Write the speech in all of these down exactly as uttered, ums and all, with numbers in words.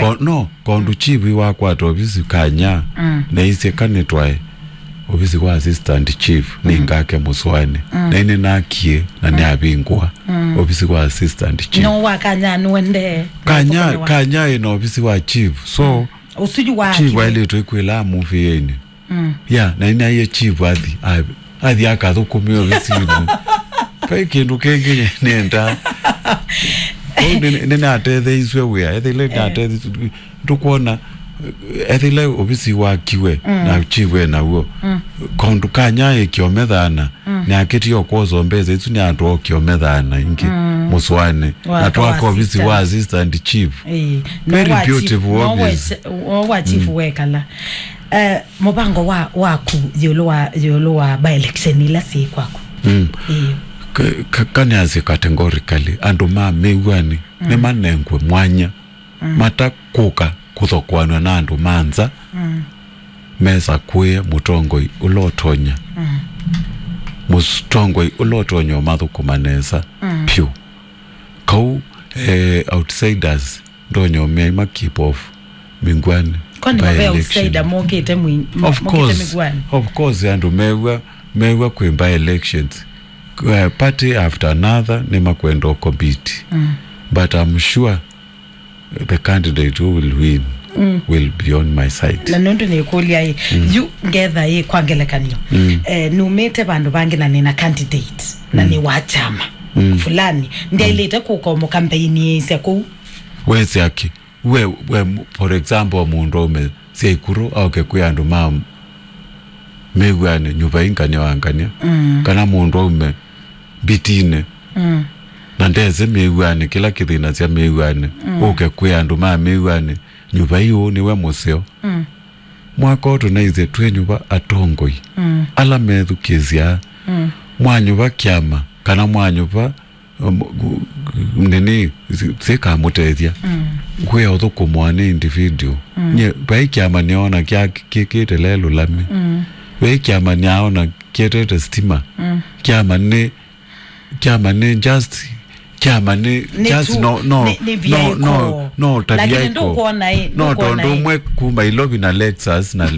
Ko-, no, kondu chief wakwata ovisi kanya, mm, na isye kanitwae ovisi wa assistant chief, mm, ningake Mũsũanĩ. Mm. Na ĩnĩ nakie na, mm, nĩavingũa, mm, ovisi wa assistant chief. No wa kanya nĩwende. Kanya, kanya ĩna ovisi wa chief. So, mm, ũsuju wa chief ailĩtwe kwĩla amũvĩeni. Mm. Ya, na inaie chief athi, a-, athi akathũkũme ovisinĩ. Vai kĩndũ kĩngĩ nĩ-, nĩendaa. Ũu nĩ-, nĩnatetheiswe wĩa, ethĩle natetheiswe, ndũkwona, ethĩle ovisi wakiwe, mm, na chief e naw'o. Mm. Kaũndũ kanya ĩkĩomethana, mm, nĩakĩtie kwosa mbesa isu nĩ andũ okĩomethana ingĩ, mm, Mũsũanĩ. Na twaka ovisi wa assistant chief. Ĩĩ. Very beautiful office. No wa chief, no wa chief, mm, wekala. Eh, mũvango wa, waku ĩũlũ wa, ĩũlũ wa by-election ila syĩ kwaku? Mm. Ĩĩ. Ka-, ka-, kanĩasye categorically, andũ ma Mĩw'anĩ, mm, nĩmanengwe mwanya, mm, matakũka kũthokoanw'a na andũ ma nza, mm, mesakũĩe mũtongoi ũla ũtonya. Mm. Mũtongoi ũla ũtonya ũmathũkũma nesa, mm, vyũ. Kau, eh, outsiders, ndonyomea ima keep off Mĩw'anĩ. Kwani mave by-election outsider mokĩte mwi-, mo-, of mokĩte course, Mĩw'anĩ? Of course, andũ mew'a, mew'a kwĩ by-elections. Uh, party after another nĩmakwenda compete. Mm. But I'm sure the candidate who will win, mm, will be on my side. Na nũndũ nĩkũlya ĩ, mm, yu ngetha ĩ kwa ngelekany'o. Mm. Eh, numĩte vandũ vangĩ na nĩna candidate, na, mm, nĩ wa kyama, mm, fulani. Ndyaĩlĩte, mm, kũka mũkampeiniĩsya kũu. Wesĩ aki. We, we, for example, mũndũ aume sya ikuru aoke kwĩ andũ ma Mĩw'anĩ, nyuva ingania wa ngania. Mm. Kana mũndũ aume Mbitinĩ. Mm. Na ndesĩ Mĩw'anĩ, kĩla kĩthĩnasya Mĩw'anĩ. Mm. Ũke kwĩ andũ ma Mĩw'anĩ, nyuva ĩ ũũ nĩwe mũseo. Mm. Mwaka ũũ tũnaisye twĩ nyuva atongoi. Mm. Ala methukĩĩsya. Mm. Mwanyuva kyama, kana mwanyuva Um, gu-, gu-, nini, si-, sikamũtethya. Mm. Kwĩ ũthũkũmwa nĩ individual. Mm. Nye, vai kyama nĩona kya kĩkĩte lelũ lami. Mm. Vai kyama nĩaona kĩetete stima. Mm. Kyama nĩ, kyama nĩ just, kyama nĩ, nĩ just tu, no, no, nĩ, nĩ no, vyaiko. No, no, ta lakini vyaiko. Ndũkwona ĩ, no, ndũkwona tondũ ĩ. Ũmwe kuma Ilovi na Lexus na, na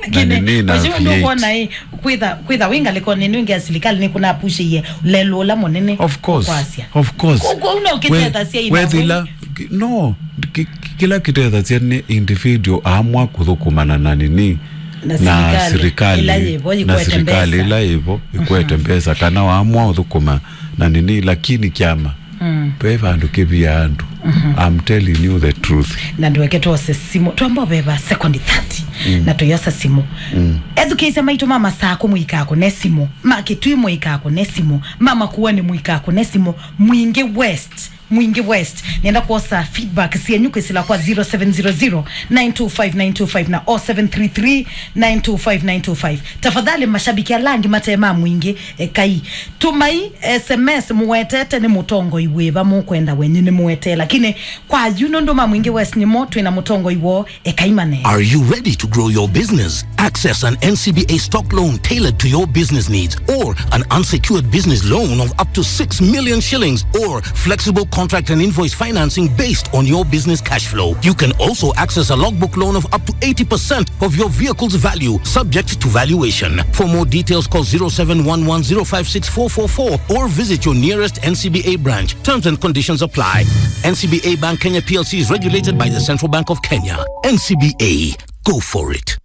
lakini, nini na mheshimiwa, V eight. Ndũkwona ĩ, kwĩtha, kwĩtha wĩ ngalĩkonĩ ĩno ĩngĩ ya silikalĩ nĩkũnapushĩie lelũ ũla mũnene. Of course, kwasya. Of course. Kwoou no kĩtethasya ina wethĩla, no, ki-, ki-, kĩla kĩtethasya nĩ individual aamwa kũthũkũmana na nini, na silikalĩ ĩla yĩvo, na ĩkwete silikalĩ mbesa. Ĩla yĩvo ĩkwete mbesa, kana waamwa ũthũkũma na nini, lakini kyama, mm, ve vandũ kĩvia andũ. Mhm. I'm telling you the truth. Na ndweke twose simũ. Twamba ũveva second thirty. Mm. Na tũyosa simũ. Mm. Ethukĩĩsya maitũ ma Masaku mũikaa kũne simũ. Ma Kĩtui mũikaa kũne simũ. Ma Makueni mũikaa kũne simũ. Mwingĩ West. Mwingĩ West. Nenda kwosa feedback syenyu kwĩsĩla kwa zero seven zero zero, nine two five, nine two five na oh seven three three, nine two five, nine two five. Tafadhali, mashabiki ala angĩ mate ma Mwingĩ, ekai. Tũmai S M S mũwetete nĩ mũtongoi wĩva mũkwenda wenyu nĩmũwetee, lakini kwa yu nũndũ ma Mwingĩ West nĩmo twĩ na mũtongoi woo, ekai mane. Are you ready to grow your business? Access an N C B A stock loan tailored to your business needs or an unsecured business loan of up to six million shillings or flexible contract and invoice financing based on your business cash flow. You can also access a logbook loan of up to eighty percent of your vehicle's value, subject to valuation. For more details, call zero seven one one zero five six four four four or visit your nearest N C B A branch. Terms and conditions apply. N C B A Bank Kenya P L C is regulated by the Central Bank of Kenya. N C B A, go for it.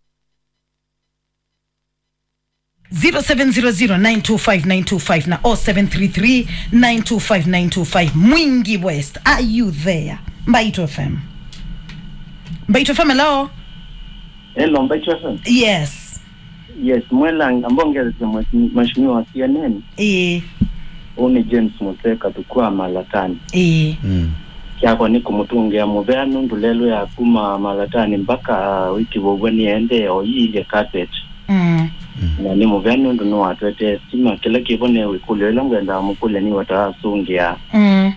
Zero seven zero zero, nine two five, nine two five na oh seven three three, nine two five, nine two five. Mwingi West, are you there? Mbaitũ F M. Mbaitũ F M, hello? Hello, Mbaitũ F M. Yes. Yes, mwela ngambongereze mwe-, mheshimiwa C N N. Ĩĩ. Ũũ nĩ James Mũseka, Thukua Malatani. Ĩĩ. Mm. Kyakwa nĩ kũmũtũngĩa mũvea nũndũ lelũ ya kuma Malatani mpaka wĩkĩvovw'a nĩendee o iilye carpet. Mm. Mm. Na nĩ mũvea nũndũ nĩwatwetee stima. Kĩla kĩvo nĩ wĩkũlyo ĩla ngwendaa mũkũlya nĩ wata asũngĩa. Mm.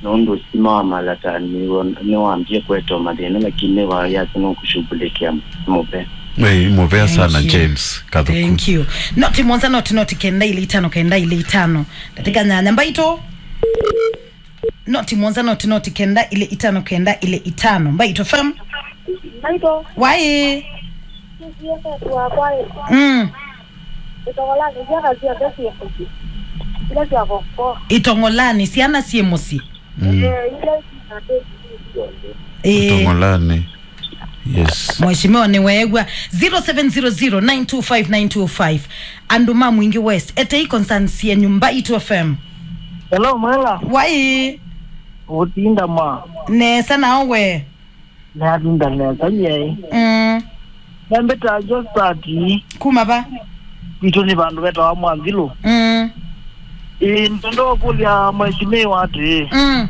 Nũndũ stima wa Malatani nĩwambie kũete mathĩna, lakini nĩwayasya nũkũshughulikia mũvea. Ĩĩ, mũvea sana, thank you, James Kathuku. Thank you. Noti mũonza, noti, noti kenda ilĩ itano, kenda ilĩ itano. Ndatĩka nyanya. Mbaitũ. Noti mũonza, noti, noti kenda, ilĩ itano, kenda, ilĩ itano. Mbaitũ F M. Mbaitũ. Wai. Sisi yetu wakwa. Mm. Itongolani, syana sya kazi ya pesi ya kuki. Ile sya koko. Itongolani, syana syĩ mũsyĩ. Mm. Eh, ile sya pesi. Eh. Itongolani. Yes. Mheshimiwa nĩ weew'a. Zero seven zero zero nine two five nine two five. Andũ ma Mwingi West. Etei concerns yenyu Mbaitũ F M. Hello, Mwela. Wai. Ũtinda ma. Nesa nao we. Natinda nesa nyie. Mm. Nambĩta Josati. Kuma va? Kwitũ nĩ vandũ vetawa Mwanzilũ. Mm. Ĩĩ, ndondo kũlya mheshimiwa atĩ. Mm.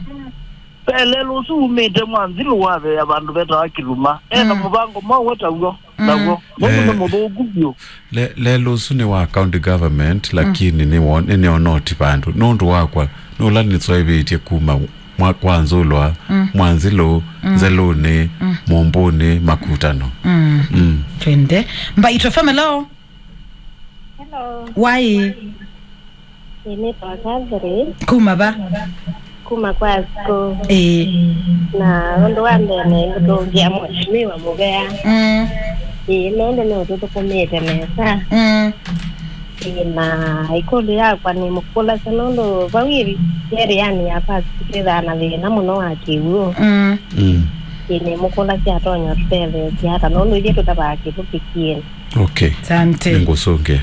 Ve lelũ ũsu umĩte Mwanzilũ waveea vandũ vetawa Kĩluma. Ena Mm. mũvango mwaũ we taw'o? Mm. Naw'o. Nũndũ nĩ Eh. mũthũku vyũ. Le-, lelũ ũsu nĩ wa county government, lakini nĩ won-, nĩ nĩonoti vandũ. Nũndũ wakwa, nũla nĩswaĩvĩtye kuma mwa-, kwa Nzũlwa, Mm. Mwanzilũ, Mm. Nzelũnĩ, Mm. Mũmbũnĩ, Makutano. Mm. Mm. Twende. Mbaitũ F M, hello. Hello. Wai. Nĩnĩtawa Catherine. Kuma va? Kuma kwa Asko. Ĩĩ. Na ũndũ wa mbee nĩngũtũngĩa Mheshimiwa Mũvea. Mm. Ĩĩ, nũndũ nĩũtũthũkũmĩte nesa. Mm. Ĩĩ, na ĩkũlyo yakwa nĩmũkũlasya nũndũ vau ĩvi area-nĩ ya Pacific twĩthaa na thĩna mũno wa kĩw'ũ. Mm. Mm. Ĩĩ, nĩmũkũlasya atonya ũtũtetheesya ata nũndũ ithyĩ tũtavaa kĩvũkĩ kĩene. Okay. Asante. Nĩngũsũngĩa.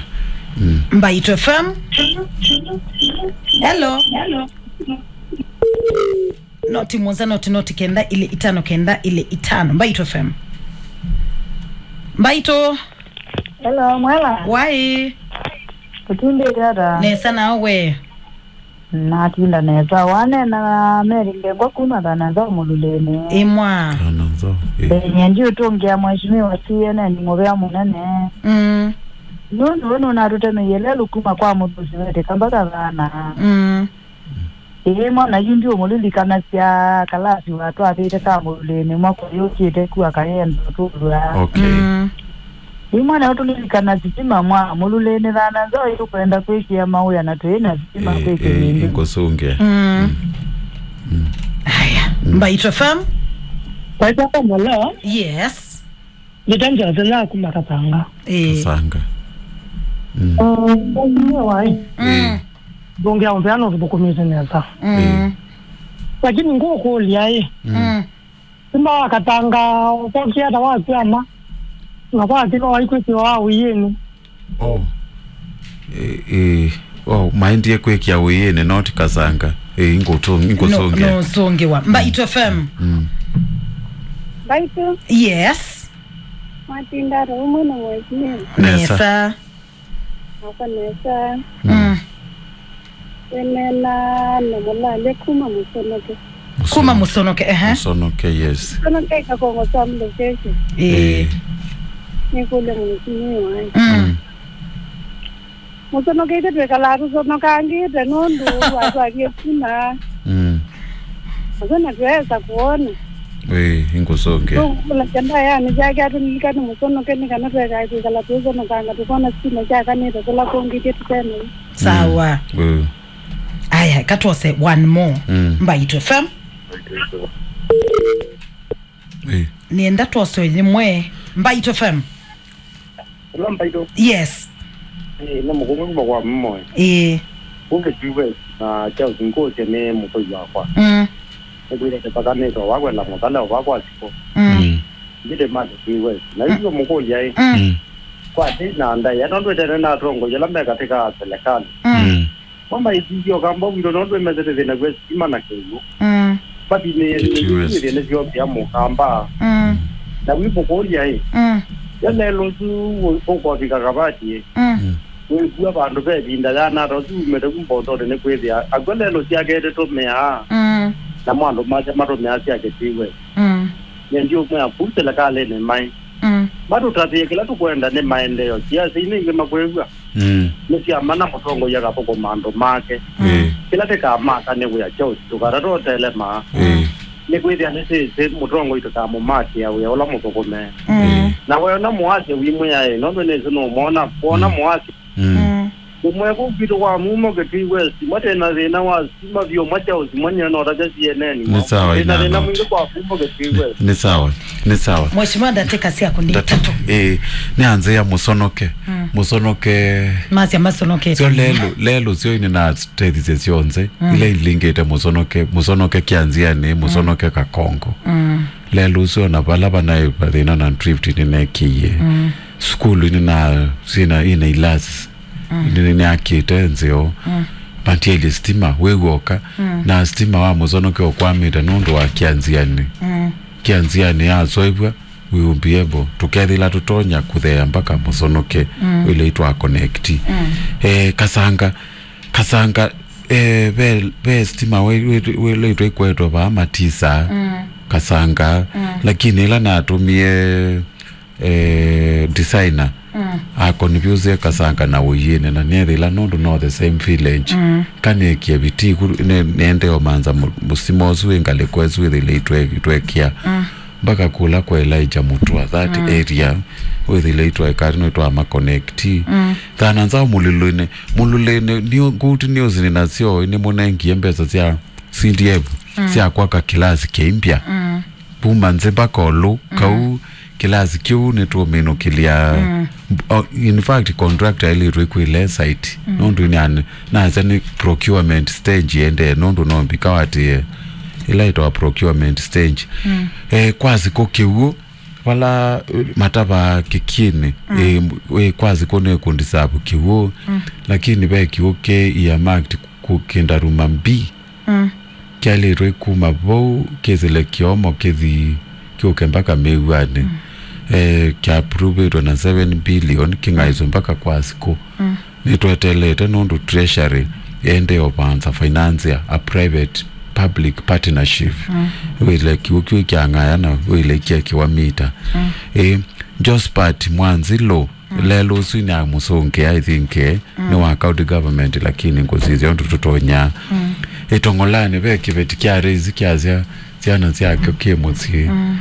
Mm. Mbaitũ F M. Hello. Noti mũonza, noti, noti kenda, ilĩ itano, kenda, ilĩ itano. Mbaitũ F M. Mbaitũ. Hello, Mwela. Wai. Ũtindĩte ata? Nesa nao we. Natinda nesa. Wanena na Mary Ndengwa kuma Thana Nzau Mũlulĩnĩ. Ĩmwa. Thana Nzau, ĩĩ. Ĩĩ, nyie ndiũtũngĩa Mheshimiwa C N N Mũvea mũnene. Mm. Nũndũ we nũnatũtemeie lelũ kuma kwa Mũthusi wetĩka mpaka Thana. Mm. Ĩĩ, mwana yu ndiũmũlilikanasya kalasi watwathĩte ka Mũlulĩnĩ mwaka ũyũ ũkĩte ku akayenda ũtũlw'a. Okay. Mm. Ĩ mwana ũtũlilikana sitima mwa Mũlulĩnĩ Thana Nzau ĩtũkwenda kwĩkĩa mawĩa na twĩ na sitima. Eh, kwĩkĩa eh, ĩndĩ. Ngũsũngĩa. Mm. Mm. Haya. Mm. Mbaitũ F M. Mbaitũ F M, hello. Yes. Nĩta Njose na kuma Kasanga. Eh. Kasanga. Mm. Mm, wai. Mm. Eh. Ndũngĩa ũmbea no tũthũkũmĩte nesa. Mm. Eh. Lakini ngũkũlya ĩ. Mm. Mm. Simba wakatanga ũkokia ta wakwama. Na kwa kilo waikwĩkĩwa wa ũiĩnĩ. Oh. Eh, eh. Oh, maendie kwĩkĩa ũiĩnĩ, not Kasanga. Eh, ingũtũ-, ingũsũngĩa. No, no, sũngĩwa. Mbaitũ F M. Mm. Mbaitũ. Yes. Matinda ata ũmwe na mwesinĩ. Nesa. Nesa. Nako nesa. Mm. Mm. Wĩneena na Mũlalya kuma Mũsonoke. Kuma Mũsonoke, ehe. Mũsonoke, yes. Mũsonoke ikakongo sya Mlokeshe. Ĩĩ. Ĩĩ. Nĩkũlya mũtumia waĩ. Mm. Mm. Mũsonoke ithe twĩkalaa tũsonokangĩte nũndũ watwarie kuma. Mm. Asu na twesa kuona. Ĩĩ, ingũsũngĩa. Tũkũlasya ndaĩanĩ syake atũlilikane Mũsonoke nĩ kana twekaa twĩkala tũisonokanga tũkona sitima syakanĩte kũla kũngĩ ithyĩ tũtenaĩ. Sawa. Mm. Ĩĩ. Aya, katwose one more. Mm. Mbaitũ F M. Ĩĩ. Nĩenda twose yĩmwe. Mbaitũ F M. Hello, Mbaitũ. Yes. Eh, nĩ mũkũmũ kuma kwa Mmoe. Ĩĩ. Kumbe T V na Charles ngũsye nĩ mũkũi wakwa. Mm. Nĩkwĩre tĩpakanĩtwe wakwenda mũthale wa kwa siko. Mm. Mm. Ndĩte mali T V. Na hiyo mũkũlya ĩ. Mm. Mm. Kwa tĩ na ndaĩa, nũndũ ĩtene na atongoria ala me katĩ ka serikali. Mm. Mm. Mama ĩsisyo kamba wĩlo nũndũ ĩmesete thĩna kwĩ sitima na kĩw'ũ. Mm. But nĩ, T T S. Nĩ thĩna syombea mũkamba. Mm. Na wĩmũkũlya ĩ. Mm. Ya lelo ũsu ũkofika kavati ĩ. Mm. Mm. Wĩkua vandũ ve ĩvinda yanata ũsu umĩte ku mbotoni nĩ kwĩthĩa. Akw'a lelo syakete tũmĩaa. Mm. Na mwandũ make matũmĩaa sya kĩtiwe. Mm. Nĩ ndiũmwĩa kũu selekalĩnĩ maĩ. Mm. Matũtavĩe kĩla tũkwenda nĩ maendeeo. Siasa inĩ ingĩ makwĩw'a. Mm. Nĩ sya mana mũtongoia akathũkũma andũ make. Mm. Ĩĩ. Kĩla tĩkamaka nĩ wĩa kyaũ tũkatata ũtelema. Ĩĩ. Nĩ kwĩthĩa nĩsĩsĩ mũtongoi tũkamũmakĩa wĩa ũla mũthũkũme. Mm. Ĩĩ. Na weona mũasya wimwĩaĩ, nũndũ nĩsĩ nũmwona, wona Mm. mũasya. Mm. Mm. Ũmwe kũu kwitũ kwa Mumo Kitui West, mate na thĩna wa stima vyũ, mate ũsimanyia na ũtake C N N. Nĩ sawa, Ina thĩna Inanoti. Mwingĩ kwa Mumo Kitui West. Nĩ sawa, nĩ sawa. Mheshimiwa, ndatĩka syaku nĩ Ndati- itatũ. Ĩĩ, nĩ anzĩa Mũsonoke. Mm. Mũsonoke. Masya Masonoke. Sio lelo, lelo sio ine na tethisye syonthe. Mm. Ila ilingĩte Mũsonoke, Mũsonoke Kĩanziani, Mũsonoke Kakongo. Mm. Lelo ũsu ona vala vanaĩ vathĩna na drift nĩnekĩie. Mm. Sukulu nĩ na, sina, ina ilasi. Mm. Nĩ, nĩakĩte nzeo. Mm. Matieli stima, wĩw'oka. Mm. Na stima wa Mũsonoke ũkwamĩte nũndũ wa Kĩanziani. Mm. Kĩanziani yasoivwa, we will be able, tũkethĩla tũtonya kũtheea mpaka Mũsonoke, mm, ĩla itwa connect. Mm. Eh, Kasanga, Kasanga, eh, ve, ve stima we, we, we, ĩla itwa ikwetwe vaa matisa, mm, Kasanga, mm, lakini ĩla natũmie, eh, designer, mm, akonifyũsĩe Kasanga na Ũiĩnĩ, na nĩethĩla nũndũ no the same village. Mm. Kanĩkie vitiku, nĩ-, nĩendee ũmanza mũ-, mũsimo ũsu wĩ ngalĩko ĩsu ĩthĩle itwe-, itwekĩa. Mm. Mpaka kũla kwa Elijah Mutua, that, mm, area, wĩthĩle itwaĩkatĩ no itwama connect. Mm. Thana nzao Mululũinĩ. Mululũinĩ, nĩ ngũti nĩ ũsini nasyo, nĩ mũnengie mbesa sya C D F, mm, sya kwaka kĩlasi kĩimbya. Mm. Kuma nzĩ mpaka ũlũ, mm, kau kĩlasi kĩu nĩtũminũkĩlya. Mm. Oh, in fact, contractor ĩlĩtwe kwĩle site. Mm. Nũndũ nĩ an-, nasya nĩ procurement stage yendee, nũndũ no mbika watie ĩla ĩtawa procurement stage. Mm. Eh, kwa sikũ kĩw'ũ, vala, eh, matavaa kĩkĩnĩ, mm, eh, eh, kwa sikũ nĩ kũndisavu kĩw'ũ, mm, lakini ve kĩw'ũ kĩ earmarked kũ-, kĩndaruma mbi. Mm. Kyaĩlĩtwe kuma vau kĩsĩle kĩomo kĩthi kĩũke mpaka mĩw'anĩ. Mm. Eh, kyaapuruvĩtwe na seven billion kĩng'aĩswe mpaka kwa sikũ. Mm. Nĩtwetelete nũndũ treasury ende ũvanza financia a private public partnership. Mm. Wĩle kĩw'ũ kĩu kyang'aya na wĩle kyekĩwa mita. Mm. Eh, Josephat Mwanzilũ, mm, lelũ ũsu nĩamũsũngĩa, I think, eh, mm, nĩ wa county government, lakini ngũsisya ũndũ tũtonya. Mm. Ĩtong'olanĩ ve kĩveti kya raise kyasya syana syakyo kĩ mũsyĩ. Mm.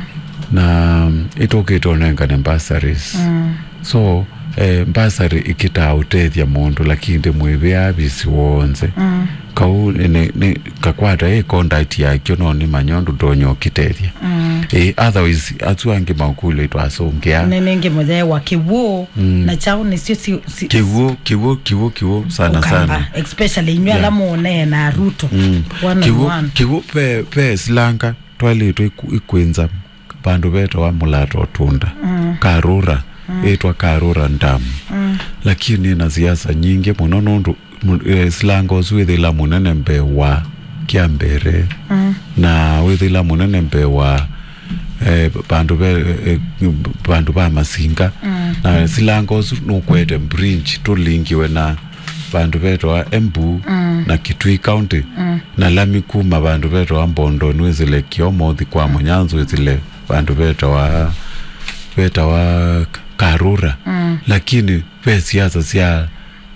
Na, mm, ĩtũkĩte ũnengane bursaries. Mm. So, eh, bursary ĩkĩtaa ũtethya mũndũ, lakini ndĩmwĩvĩa visi wonze. Mm. Kau nĩ, nĩ, kakwata ĩ contact yakyo, no nĩmanya ũndũ ndonya ũkĩtethya. Mm. Eh, otherwise, asu angĩ makũlyo itwasũngĩa. Nĩ nĩngĩ mũthee wa kĩw'ũ, mm, na kyaũ nĩsyo si, si, kĩw'ũ, kĩw'ũ, kĩw'ũ, kĩw'ũ, sana, Ũkamba, sana. Especially inyuĩ, yeah, ala mũneenaa Ruto, mm, one on one. Kĩw'ũ, kĩw'ũ ve, ve silanga twaĩlĩtwe iku-, ikwĩnza vandũ vetawa Mũlato Tunda. Mm. Karura, mm, ĩtwa Karura Dam. Mm. Lakini na siasa nyingĩ mũno nũndũ mu-, eh, silanga ũsu wĩthĩla mũnene mbee wa kya mbere. Mm. Na wĩthĩla mũnene mbee wa, eh, vandũ ve, eh, vandũ va masinga. Mm. Na silanga ũsu nũkwete bridge tũlingiwe na vandũ vetawa Embu, mm, na Kitui County. Mm. Na lami kuma vandũ vetawa Mbondoni wĩsĩle Kĩomo ũthi kwa Mũnyanzu wĩsĩle vandũ vetawa, vetawa Karura. Mm. Lakini ve siasa sya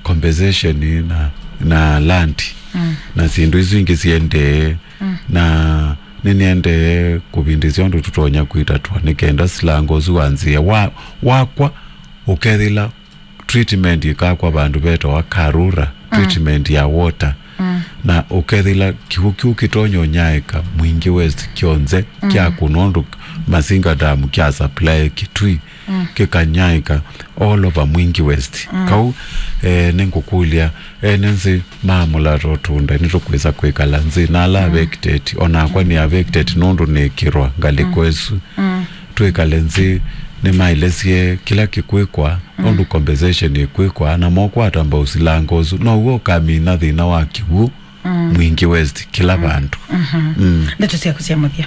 compensation na, na land, mm, na syĩndũ isu ingĩ siendee. Mm. Na nĩnĩendee kũvindĩsya ũndũ tũtonya kwĩtatwa nĩ kenda silanga ũsu wanzĩe wa, wakwa ũkethĩla treatment ĩkakwa vandũ vetawa Karura, mm, treatment ya water. Mm. Na ũkethĩla kĩw'ũ kĩu kĩtonya ũnyaĩka Mwingi West kyonthe, mm, kyakũna ũndũ Masinga Dam kya supply Kitui, mm, kĩkanyaĩka all over Mwingi West. Mm. Kau, eh, nĩngũkũlya, ene nzĩ ma Mũlato Tunda nĩtũkwĩsa kwĩkala nzĩ na ala, mm, affected, onakwa nĩ affected nũndũ nĩkĩrwa ngalĩko, mm, ĩsu. Mm. Twĩkale nzĩ, nĩmaelesye kĩla kĩkwĩkwa, mm, nũndũ compensation ĩkwĩkwa, na mokwata mbau silanga ũsu, now'o ũkamina thĩna wa kĩw'ũ, mm, Mwingi West, kĩla, mm, vandũ. Mhm. Mm. Ndeto syaku sya mũthya.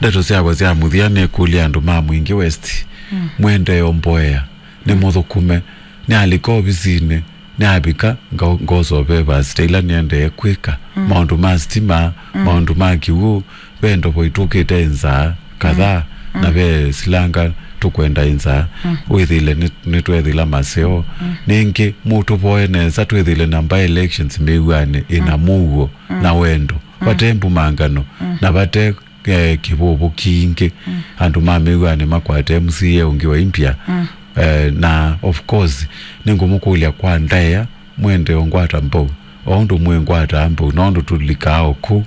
Ndeto syakwa sya mũthya nĩ kũlya andũ ma Mwingi West, mm, mwendee ũmboea, nĩ, mm, mũthũkũme, nĩalika ovisinĩ, nĩavika, nga-, ngosovee vasita ila nĩendee kwĩka, mm, maũndũ ma sitima, mm, maũndũ ma kĩw'ũ, ve ndovo itũkĩte nzaa kadhaa, mm, na, mm, ve silanga tũkwenda nzaa, mm, wĩthĩle nĩ, nĩtwethĩla maseo. Mm. Nĩngĩ mũtũvoe nesa twĩthĩle na by elections mĩw'anĩ ĩna, mm, mũuo, mm, na wendo. Mm. Vate mbumangano, mm, na vate, eh, kĩvũvũ kingĩ. Mm. Andũ ma mĩw'anĩ makwate M C A ũngĩ wa India. Mm. Eh, na of course, nĩngũmũkũlya kwa ndaĩa, mwende ũngwata mbau, o ũndũ mwĩngwataa mbau, nũndũ tũlikaa o kũu,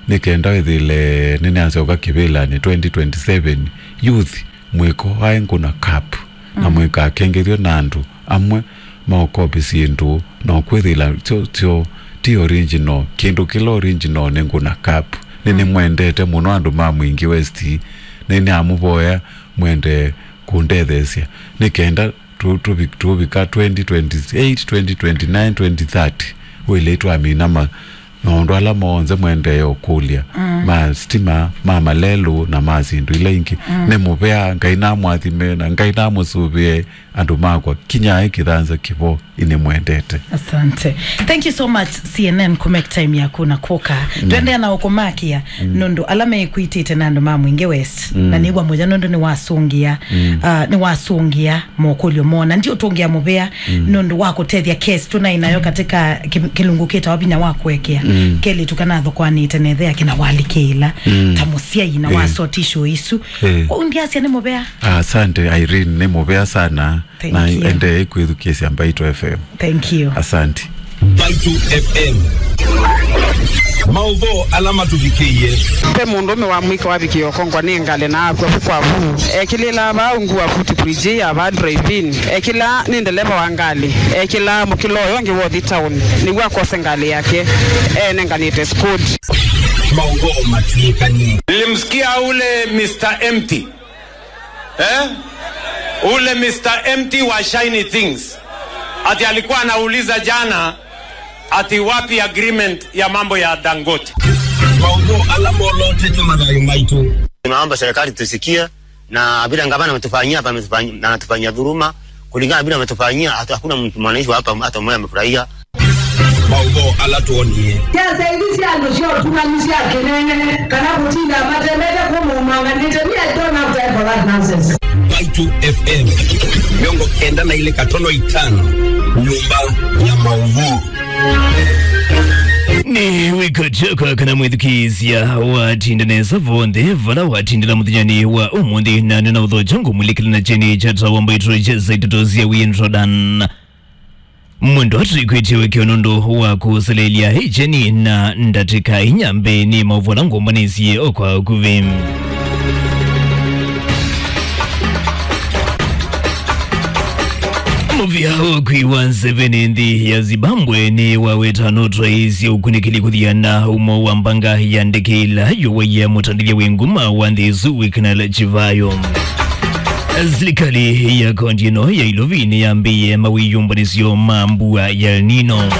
nĩ kenda wĩthĩle nĩnasyoka kĩvĩlanĩ twenty twenty-seven, youth mwĩko aĩ Ngũna Cup, na mm, mũikakengethw'e na andũ amwe maũkopi syĩndũ, na ũkwĩthĩla syo, syo ti original. Kĩndũ kĩla original nĩ Ngũna Cup. Nĩ, mm, nĩmwendete mũno andũ ma Mwingi West, nĩ nĩamũvoya mwende kũndetheesya nĩ kenda tũ-, tũvi-, tũvika twenty twenty-eight, twenty twenty-nine, twenty thirty, wĩlĩ twamina ma-, maũndũ ala monthe mwendeee ũkũlya, mm, ma stima, ma malelũ, na ma syĩndũ ila ingĩ. Mm. Nĩ mũvea, Ngai namwathime, na Ngai namũsũvĩe, andũ makwa, kinyai kĩthanza kĩvo, inĩmwendete. Asante. Thank you so much, C N N, kũ make time yaku na kũka. Mm. Twendea na ũkũmakia, mm, nũndũ ala mekwĩtĩte na andũ ma Mwingi West, mm, na nĩw'a mũya nũndũ nĩwasũngĩa, mm, ah, nĩwasũngĩa mokũlyo mona. Ndi ũtũngĩa mũvea, mm, nũndũ wa kũtethya case tũnaĩ nayo katika ki-, kĩlungu kĩtawa vinya wa kũekea. Mm. Kelĩtu kana athũkwanĩte na ĩthe yake na walikĩĩla, mm, ta mũsyai na, eh, wasoti show isu. Eh. Kwa undiasya nĩ mũvea. Asante, Irene, nĩ mũvea sana. Thank you. Na endee kwĩthukĩĩsya Mbaitũ F M. Thank you. Asante. Mbaitũ F M. Maũvoo ala matũvikĩie. Ve mũndũũme wa mũika wavikie ũkongwa nĩ ngalĩ na akw'a vu kwa vu. Ekĩlĩlaa vaa ungu wa futi bridge ya vaa drive-in. Ekĩlaa nĩ ndeleva wa ngalĩ. Ekĩlaa mũkĩla ũyũ ũngĩ wa ũthi town nĩw'o akose ngalĩ yake. Enenganĩte squad. Maũvoo matw'ĩkanie. Nilimsikia ule Mister Empty. Eh? Ule Mister Empty wa Shiny Things. Ati alikuwa anauliza jana ati wapi agreement ya mambo ya Dangote. Maũvoo ala molotete mathayũ maitũ. Tunaomba serikali tusikie, na vile gavana ametufanyia hapa, ametufanyia, anatufanyia dhuluma. Kulingana na vile ametufanyia, hatu-, hakuna mtu, mwananchi wa hapa hata mmoja amefurahia. Maũvoo ala twonie. Kyasa ithi sya andũ sya ũtungani sya kĩnene, kana kũtinda matemete kũmũmang'anĩte, me, I don't have time for that nonsense. Mbaitũ F M, mĩongo kenda na ilĩ katono itano, nyũmba ya maũvoo. Nĩ wĩko kyakwa kana mwĩthukĩĩsya watinda nesa vonthe vala watindĩla mũthenyanĩ wa ũmũnthĩ, na nĩna ũthokya ngũmũlikĩla na kyeni kya tawa Mbaitũ kya ndeto sya wĩndrodan. Mwendwa twĩkwĩtye wĩkĩo nũndũ wa kũseleelya ĩkyeni na ndatĩka inya mbee nĩ maũvoo ala ngũmbanĩsye o kwa ũkuvĩ. Mũvĩa ũkui wa nzeve nĩ nthĩ ya Zimbabwe nĩ waweta nũtwaĩĩsye ũkunĩkĩli kũthiana ũmo wa mbanga ya ndeke ĩla yũwaie mũtandĩthya wĩ nguma wa nthĩ ĩsu Wicknell Chivayo. Silikalĩ ya kaunti ĩno ya Ilovi nĩyambĩĩe mawĩyũmbanĩsyo ma mbua ya El Nino.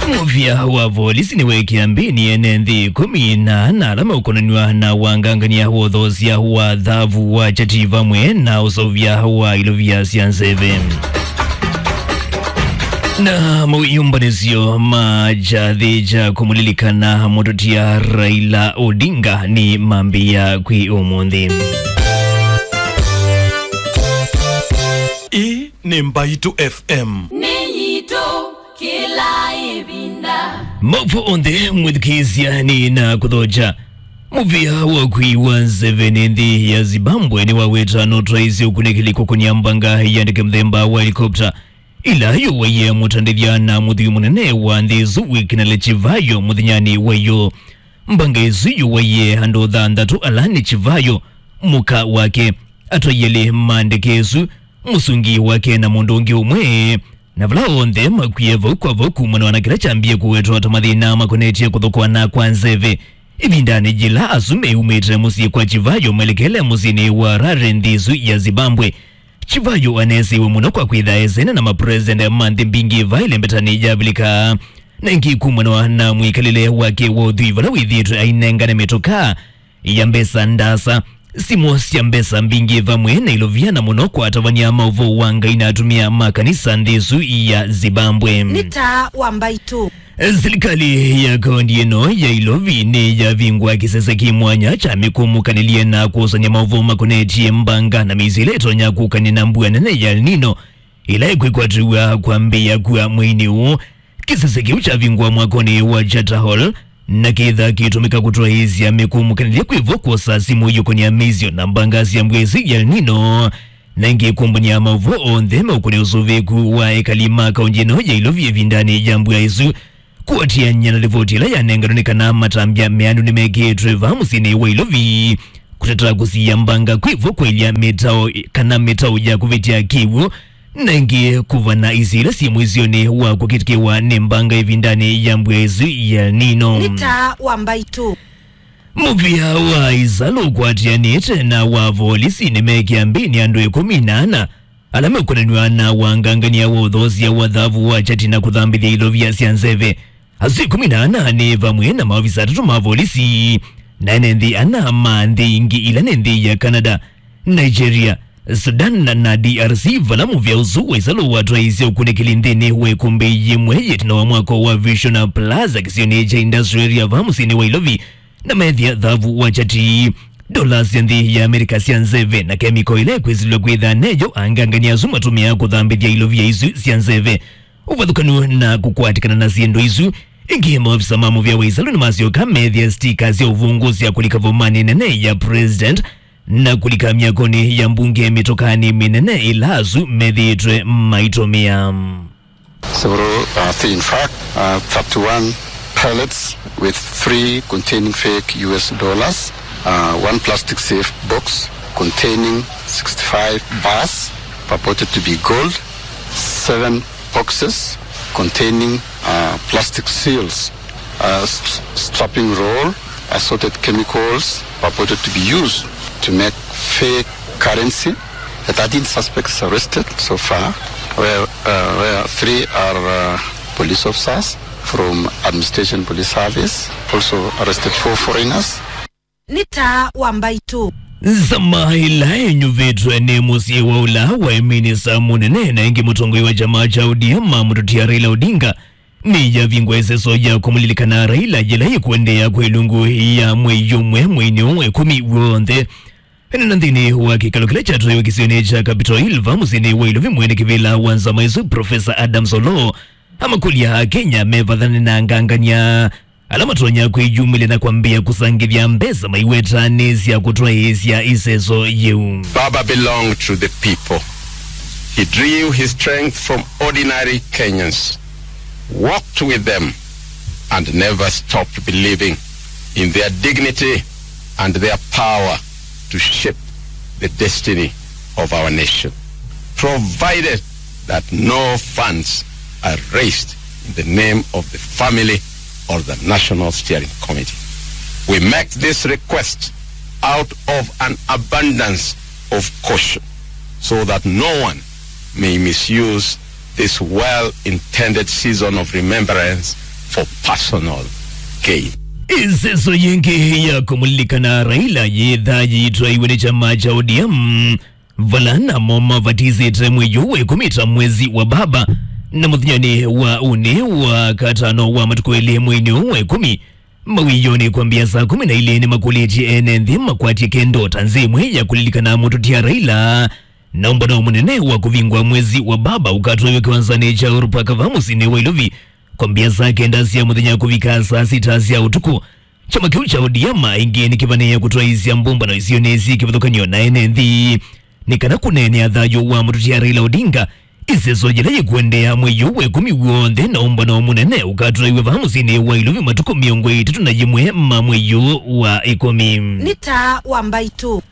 Mũvĩa wa volisi nĩweekĩa mbĩnĩ ene nthĩ ĩkũmi na ana ala meũkonanw'a na wangangany'a wa ũthoosya wa thavu wa kyati vamwe na ũseũvya wa ilovia sya nzeve. Na mawĩyũmbanĩsyo ma kyathĩ kya kũmũlilikana mũtũtia Raila Odinga nĩmambĩĩa kwĩ ũmũnthĩ. Ĩĩ nĩ Mbaitũ F M. Nĩ yitũ kĩla ĩvinda. Maũvoo onthe mwĩthukĩĩsya nĩ na kũthokya. Mũvĩa wa ũkui wa nzeve nĩ nthĩ ya Zimbabwe nĩwaweta nũtwaĩĩsye ũkunĩkĩli kũkũnĩa mbanga ya ndeke mũthemba wa helikopta ĩla yũwaie mũtandĩthya na mũthwii mũnene wa nthĩ ĩsu Wicknell Chivayo mũthenyanĩ wa ĩyoo. Mbanga ĩsu yũwaie andũ thanthatũ ala nĩ Chivayo, mũka wake, atwai elĩ ma ndeke ĩsu, mũsungi wake na mũndũ ũngĩ ũmwe, na vala onthe makwie vau kwa vau kumana na kĩla kyambie kũwetwa ta mathĩna makonetye kũthũkũana kwa nzeve. Ĩvindanĩ yĩla asu meumĩte mũsyĩ kwa Chivayo melekele mũsyĩnĩ wa Harare nthĩ ĩsu ya Zimbabwe, Chivayo aneesĩiwe mũno kwa kwĩtha esene na mapresident ma nthĩ mbingĩ vaĩle mbetanĩ ya Avilika. Na ĩngĩ kumana na mwĩkalĩle wake wa ũthwii vala wĩthĩĩtwe ainengane mĩtokaa ya mbesa ndaasa, simũ sya mbesa mbingĩ vamwe na ilovia na mũno kwa atavany'a ma ũvoo wa Ngai na atumĩa ma kanisa nthĩ ĩsu ya Zimbabwe. Nĩ taa wa Mbaitũ. Silikalĩ ya kaunti ĩno ya Ilovi nĩyavingũa kĩsese kĩ mwanya kya mĩkũmũkanĩlye na kũsany'a maũvoo makonetye mbanga na mĩisyo ĩla ĩtonya kũkanĩa na mbua nene ya El Nino ĩla ĩkwĩkwatĩw'a kwambĩĩa kua mweinĩ ũũ. Kĩsese kĩu kyavingũa mwakonĩ wa Charter Hall na kĩtha kĩtũmĩka kũtwaĩĩsya mĩkũmũkanĩlye kwĩ vo kwosa simũ iyũkũnĩa mĩisyo na mbanga sya mbua ĩsu ya El Nino. Na ĩngĩ, kũmbany'a maũvoo onthe meũkũlya ũsũvĩĩku wa ekali ma kaũnti ĩno ya Ilovi ĩvindanĩ ya mbua ĩsu, kũatĩanĩa na livoti ĩla yanenganwe nĩ kana matambya meanu nĩmekĩĩtwe vaa mũsyĩnĩ wa Ilovi kũtata kũsiĩa mbanga kwĩvo kwaĩlya mĩtao kana mĩtao ya kũvĩtya kĩw'ũ, na ĩngĩ kũvana isio ila syĩ mũisyonĩ wa kũkĩtĩkĩwa nĩ mbanga ĩvindanĩ ya mbua ĩsu ya El Nino. Nĩ taa wa mbaitũ. Mũvĩa wa ĩsalũ ũkwatĩanĩte na wa volisi nĩmekĩa mbĩnĩ andũ ĩkũmi na ana ala mekwonanw'a na wangangania wa ũthoosya wa thavu wa kyati na kũthambĩthya ilovia sya nzeve. Asu ĩkũmi na ana nĩ vamwe na maovisa atatũ ma volisi na ene nthĩ ana ma nthĩ ingĩ ila nĩ nthĩ ya Canada, Nigeria, Sudan na D R C, vala mũvĩa ũsu wa ĩsalũ watwaĩĩsye ũkunĩkĩli nthĩnĩ wa ĩkũmbĩ yĩmwe yĩtina wa mwako wa Vision Plaza kĩsionĩ kya Industrial Area vaa mũsyĩnĩ wa Ilovi, na meethĩa thavu wa kyati, ndola sya nthĩ ya Amerika sya nzeve, na kemiko ĩla ĩkwĩsĩlw'a kwĩtha neyo angangania asu matũmĩaa kũthambĩthya ilovia isu sya nzeve. Ũvathũkanu na kũkwatĩkana na syĩndũ isu, ĩngĩ maovisa ma mũvĩa wa ĩsalũ nĩmasyoka meethĩa stika sya ũvũngũ sya kũlika vomanĩ nene ya President na kũlika myakonĩ ya mbunge mĩtokanĩ mĩnene ĩla asu methĩĩtwe maitũmĩa. Several uh, things. In fact, uh, thirty-one pallets with three containing fake U S dollars, uh, one plastic safe box containing sixty-five bars purported to be gold, seven boxes containing uh, plastic seals, uh, st- strapping roll, assorted chemicals purported to be used to make fake currency. The thirteen suspects arrested so far, where, uh, where three are uh, police officers from Administration Police Service, also arrested four foreigners. Nĩ taa wa mbaitũ. Nzama ĩla ĩnyuvĩtwe nĩ mũsyĩ wa ũla waĩ minista mũnene na ĩngĩ mũtongoi wa kyama kya O D M, Mũtũtia Raila Odinga, nĩyavingwa ĩseso ya kũmũlilikana Raila yĩla yĩkũendeea kwĩ ilungu ya mwei ũmwe mweinĩ ũũ wa ĩkũmi w'onthe. Ĩnena nthĩnĩ wa kĩkalo kĩla kyatwaiwe kĩsionĩ kya Capitol Hill vaa mũsyĩnĩ wa Ilovi, mwene kĩvĩla wa nzama ĩsu, Professor Adams Oloo, amakũlya Akenya mevathane na angangania ala matonya kwĩyumĩlya na kwambĩĩa kũsangĩthya mbesa maiwetanĩsya kũtwaĩĩsya ĩseso yĩu. Baba belonged to the people. He drew his strength from ordinary Kenyans, walked with them, and never stopped believing in their dignity and their power to shape the destiny of our nation, provided that no funds are raised in the name of the family or the National Steering Committee. We make this request out of an abundance of caution so that no one may misuse this well-intended season of remembrance for personal gain. Ĩseso yĩngĩ ya kũmũlilikana Raila yĩthaa yĩitwaiwe nĩ kyama kya O D M, vala namo mavatĩsĩte mwei ũũ wa ĩkũmi ta mwezi wa baba, na mũthenyanĩ wa ũnĩ wa katano wa matukũ elĩ mweinĩ ũũ wa ĩkũmi, mawĩonĩ kwambĩa saa kũmi na ilĩ nĩmakũlĩtye ene nthĩ makwatye kendo ta nzĩa ĩmwe ya kũlilikana Mũtũtia Raila, na ũmbano mũnene wa kũvingwa mwezi wa baba ũkatwaiwe kĩwanzanĩ kya Uhuru Park vaa mũsyĩnĩ wa Ilovi kwambĩa saa kenda sya mũthenya kũvika saa sita sya ũtukũ. Kyama kĩu kya O D M ĩngĩ nĩkĩvanĩĩe kũtwaĩĩsya mbũmbano isionĩ syĩ kĩvathũkany'o na ene nthĩ nĩ kana kũneenea thayũ wa Mũtũtia Raila Odinga. Ĩseso yĩla yĩkũendeea mwei ũũ wa ĩkũmi w'onthe, na ũmbano mũnene ũkatwaiwe vaa mũsyĩnĩ wa Ilovi matukũ mĩongo ĩtatũ na yĩmwe ma mwei ũũ wa ĩkũmi. Nĩ taa wa mbaitũ.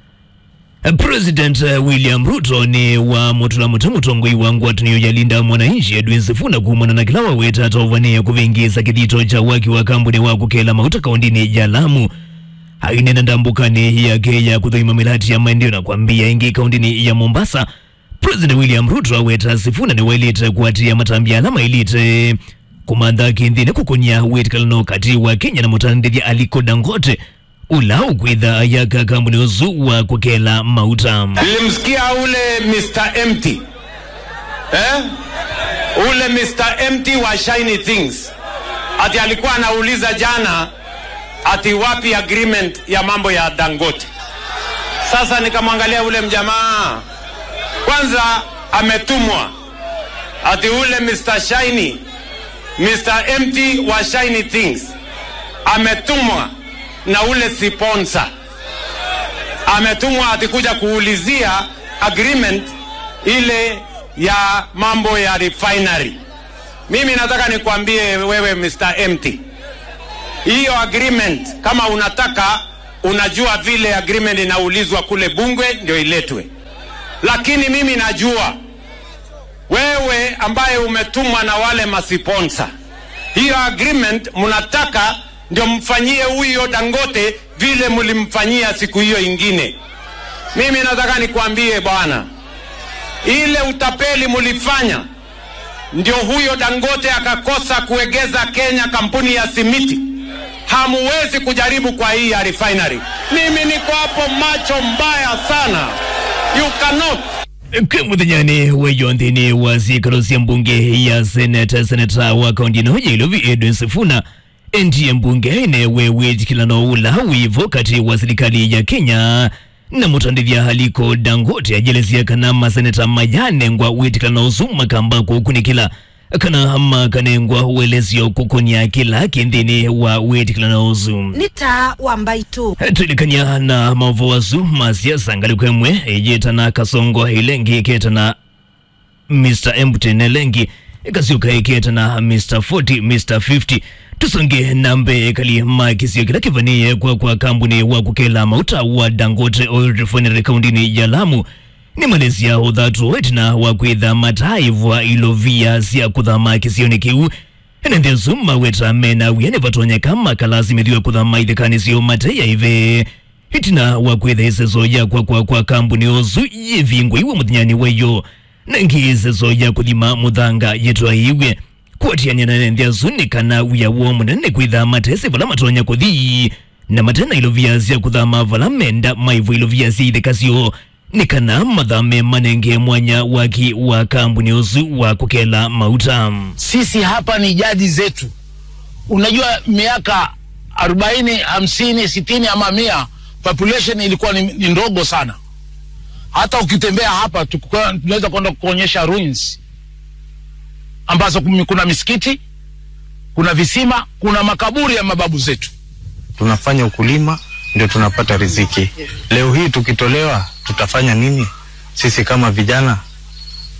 President, eh, William Ruto nĩwamũtũla mũtĩ mũtongoi wa ngwatanĩo ya Linda Mwananchi, Edwin Sifuna, kumana na kĩla waweta ta ũvanĩe kũvĩngĩĩsa kĩthito kya waki wa kambuni wa kũkela mauta kaũndĩnĩ ya Lamu. Aineena ndambũkanĩ yake ya kũthũima mĩlati ya maendeeo na kwambĩĩa ĩngĩ kaũndĩnĩ ya Mombasa, President William Ruto aweta Sifuna nĩwaĩlĩte kũatĩĩa matambya ala maĩlĩte kũmantha kĩnthĩnĩ kũkũny'a wĩtĩkĩlano katĩ wa Kenya na mũtandĩthya Aliko Dangote, ũla ũkwĩtha ayaka kambuni ũsu wa kũkela mauta. Nilimsikia ule Mister Empty. Eh? Ule Mister Empty wa Shiny Things. Ati alikuwa anauliza jana ati wapi agreement ya mambo ya Dangote. Sasa nikamwangalia ule mjamaa. Kwanza ametumwa. Ati ule Mister Shiny, Mister Empty wa Shiny Things. Ametumwa na ule sponsor. Ametumwa ati kuja kuulizia Agreement ile ya mambo ya refinery. Mimi nataka nikwambie wewe, Mister Empty. Hiyo agreement, kama unataka, unajua vile agreement inaulizwa kule bunge ndio iletwe. Lakini mimi najua wewe ambaye umetumwa na wale masiponsa, hiyo agreement mnataka ndio mfanyie huyo Dangote vile mlimfanyia siku hiyo ingine. Mimi nataka nikwambie bwana, ile utapeli mlifanya ndio huyo Dangote akakosa kuegeza Kenya kampuni ya simiti. Hamuwezi kujaribu kwa hii ya refinery. Mimi niko hapo macho mbaya sana. You cannot. Kwĩ mũthenyanĩ wa ĩyo nthĩnĩ wa syĩkalo sya mbunge ya Senate, seneta wa kaunti ĩno ya Ilovi Edwin Sifuna endie mbunge ĩnewe wĩtĩkĩlano ũla wĩvo katĩ wa silikalĩ ya Kenya na mũtandĩthya Aliko Dangote. Ayelesya kana maseneta mayanengwa wĩtĩkĩlano ũsu makamba kũkunĩkĩla kana makanengwa ũelesyo kũkũnĩa kĩla kĩ nthĩnĩ wa wĩtĩkĩlano ũsu. Nĩ taa wa mbaitũ. Twĩlikany'a na maũvoo asu ma siasa, ngalĩko ĩmwe ĩyĩtana Kasongo, ĩla ĩngĩ ĩketana Mister Empty, na ĩla ĩngĩ ĩkasyoka ĩketana Mister Forty, Mister Fifty. Tũsonge na mbee, ekali ma kĩsio kĩla kĩvanĩĩe kwa, kwa kambuni wa kũkela mauta wa Dangote Oil Refinery kauntinĩ ya Lamu nĩmalesya ũthatu ĩtina wa kwĩtha mataaĩvwa ilovia sya kũthama kĩsionĩ kĩu. Ene nthĩ asu maweta mena wia nĩvatonyeka makalasimĩthw'e kũthama ithekanĩ syoo mate ya ĩve. Ĩtina wa kwĩtha ĩseso ya kwakwa kwa kambuni ũsu yĩvingũiwe mũthenyanĩ wa ĩyo, na ĩngĩ ĩseso ya kũthima mũthanga yĩtwaĩiw'e. Kũatĩanĩa na ene nthĩ asu nĩ kana wia woo mũnene nĩ kwĩtha matesĩ vala matonya kũthi, na mate na ilovia sya kũthama vala menda maĩvwe ilovia sya itheka syoo, nĩ kana mathame manenge mwanya waki wa kambuni ũsu wa kũkela mauta. Sisi hapa ni jadi zetu. Unajua, miaka arobaini, hamsini, sitini ama mia, population ilikuwa ni, ni ndogo sana. Hata ukitembea hapa, tukua-, tunaweza kwenda kuonyesha ruins ambazo kumi-, kuna misikiti, kuna visima, kuna makaburi ya mababu zetu. Tunafanya ukulima, ndio tunapata riziki. Leo hii tukitolewa, tutafanya nini sisi kama vijana?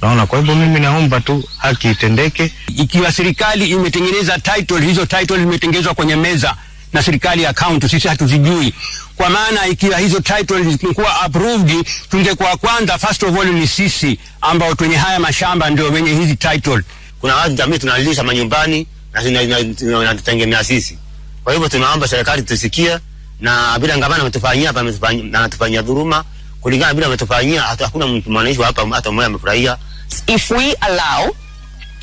Naona, kwa hivyo mimi naomba tu haki itendeke. Ikiwa serikali imetengeneza title, hizo title zimetengenezwa kwenye meza na serikali ya county, sisi hatuzijui. Kwa maana ikiwa hizo title zilikuwa approved, tungekuwa kwanza, first of all, ni sisi ambao twenye haya mashamba ndio wenye hizi title. Kuna watu jamii tunalisha manyumbani na tuna-, na, na, na, wanatutegemea sisi. Kwa hivyo tunaomba serikali tusikie, na vile gavana ametufanyia hapa, ametufanyia, na anatufanyia dhuluma, kulingana na vile ametufanyia, hata hakuna mtu, mwananchi wa hapa hata mmoja amefurahia. If we allow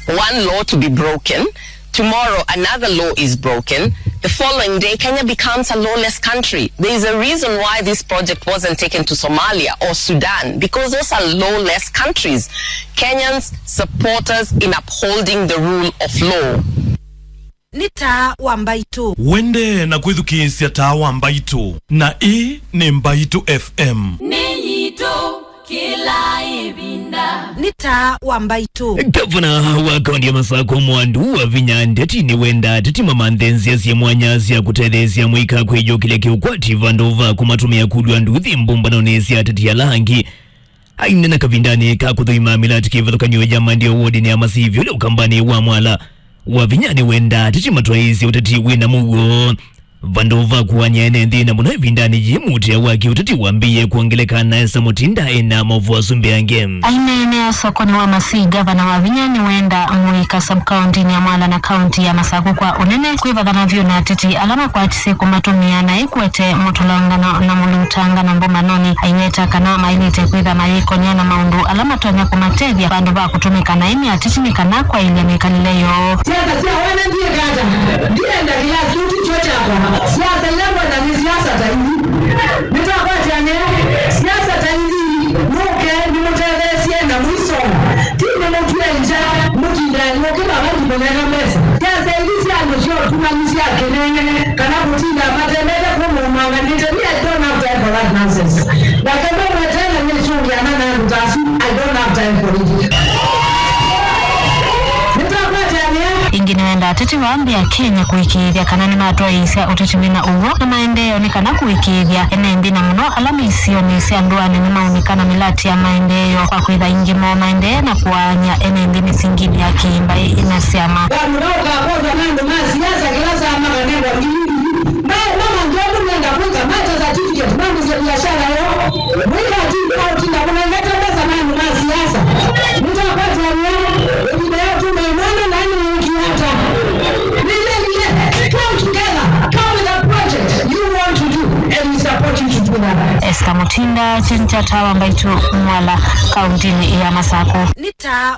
one law to be broken, tomorrow another law is broken, the following day Kenya becomes a lawless country. There is a reason why this project wasn't taken to Somalia or Sudan, because those are lawless countries. Kenyans support us in upholding the rule of law. Nĩ taa wa mbaitũ. Wende na kwĩthukĩĩsya taa wa mbaitũ, na ĩĩ nĩ Mbaitũ F M. Nĩ yitũ kĩla ĩvinda. Nĩ taa wa mbaitũ. Gavana wa kaunti ya Masakũ Mwandu Wavinya Ndeti nĩwenda ateti mamanthe nzĩa syĩ mwanya sya kũtetheesya mũika kwĩyũkĩlya kĩũkwati vandũ va kũmatũmĩa kũlw'a nduthi mbũmbanonĩ sya ateti ala angĩ. Aineena kavindanĩ ka kũthũima mĩlatĩ kĩvathũkany'o ya maendeeo wodinĩ ya Masivyu ũla ũkambanĩ wa Mwala, Wavinya nĩwenda ateti matwaĩĩsye ũteti wĩ na mũuo vandũ va kũany'a ene nthĩ, na mũno ĩvindanĩ yĩĩ mũutĩa wa kĩũteti wambĩĩe kwongeleka, na Esther Mutinda ena maũvoo asu mbeange. Aineenea sokonĩ wa Masii, Gavana Wavinya nĩwenda mũika sub-kauntinĩ ya Mwala na kaunti ya Masakũ kwa ũnene kwĩvathana vyũ na ateti ala makwatisye kũmatũmĩa na ĩkwete mũtũlangano na mũlutangano mbũmbanonĩ. Aiweta kana maĩlĩte kwĩtha mayĩkony'a na maũndũ ala matonya kũmatethya vandũ va kũtũmĩka naĩ nĩ ateti nĩ kana kwaĩlya mĩkalĩle yoo. Siasa sya wene ndiĩkata, ndienda kĩlasi kĩu ti kyo kyakwa. Siasa ila ngwenda nĩ siasa ta ithi. Nĩtwakwatĩanĩa siasa ta ithi, nũke nĩmũtetheesye na mũisoma. Ti nĩmũtw'e ngya, mũtindaa nyũkĩ vava ndimũnenga mbesa. Siasa ithi sya andũ sya ũtumani sya kĩnene, kana kũtinda matembete kũmũmanganĩte. Me, I don't have time for that nonsense. Nake mamwetena nĩsũngĩana na andũ ta asu, I don't have time for it. Nĩtwakwatĩanĩa. Ĩngĩ nĩwenda Ateti vaa nthĩ ya Kenya kũĩkĩĩthya kana nĩmatwaĩĩsya ũteti wĩna ũw'o na maendeeo nĩ kana kũĩkĩĩthya ene nthĩ na mũno ala me isionĩ sya ndũanĩ nĩmaũnĩka na mĩlatĩ ya maendeeo kwa kwĩtha aingĩ moo maendee na kũaany'a ene nthĩ mĩsinginĩ ya kĩĩmbaĩ na syama. Vandũ va ũkakosa na andũ ma siasa kĩla saa makanengwa ngili ngili, maema manzovu nenda kwĩka mate certificate mambĩsye biashara yoo. Mwĩka ati ndĩnaũtinda kũnengete mbesa na andũ ma siasa. Nĩtwakwatania ĩvinda ya ũtũma ĩmwana na nĩwĩkie ata? Nĩnengie, come together, come with a project you want to do, and we support you to do that. Esther Mutinda, Chenchata wa Mbaitu Mwala, kauntinĩ ya Masakũ. Nĩ ta